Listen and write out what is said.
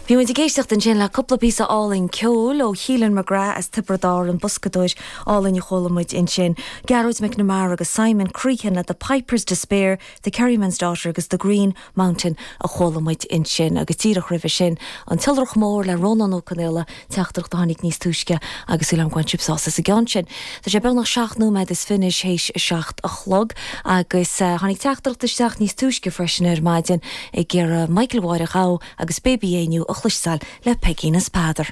Bhí muid ag éisteacht ansin le cúpla píosa álainn ceoil ó Keelan McGrath as Tiobraid Árann, boscadóir álainn a chuala muid ansin, Gearóid McNamara agus Simon Crehan le The Piper's Despair, The Kerryman's Daughter agus The Green Mountain a chuala muid ansin agus díreach roimhe sin, An tIolrach Mór le Rónán Ó Conaola, teachtaireacht a tháinig níos túisce agus súil agam go bhain sibh sásamh as an gceann sin. Tá sé beagnach seacht nóiméad is fiche théis a 7 a chlog agus tháinig teachtaireacht isteach níos túisce freisin ar maidin ag iarraidh Michael Mháire Ghabha agus Baby Éinniú a chloisteáil le Peigín is Peadar.